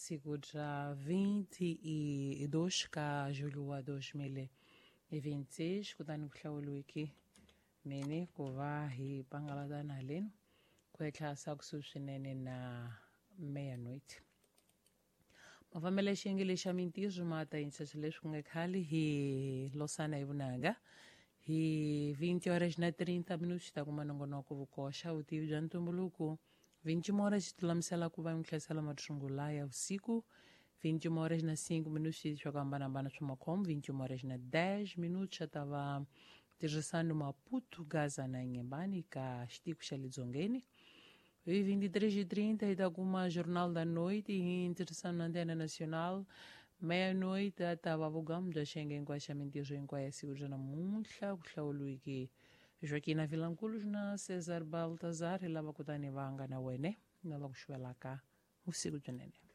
Siku ra 22 ka julho wa 2026, kutani ku hlawuriwiki mini ku va hi pangalatana halenu ku etlhasa kusuhi swinene na meia-noite. Mafambelo ya xiyenge lexa mintirho ma ta yingisisa leswi ku nga khale hi losana hi vunanga hi 20 horas na 30 minutos ta kuma nongonoko vukoxa vutivi bya ntumbuluko. 21 horas ti lulamisela ku va mi hlayisela mathungula ya vusiku. 21 horas na 5 minutos swa ku hambanahambana swa makhombo. 21 horas na 10 minutos xa ta va tirhisano Maputo, Gaza na Inhambane ka xitiko xa le dzongeni. Hi 23h30 hi ta kuma Jornal da Noite hi ntirhisano na Antena Nacional. Meia-noite ta va vugamu bya xiyenge hinkwaxo xa mintirho hinkwayo ya siku ra namuntlha ku hlawuriwiki Joaquina Vilanculos na Cesar Baltazar hi lava kutani va nga na wene na va ku xuvelaka vusiku byinene.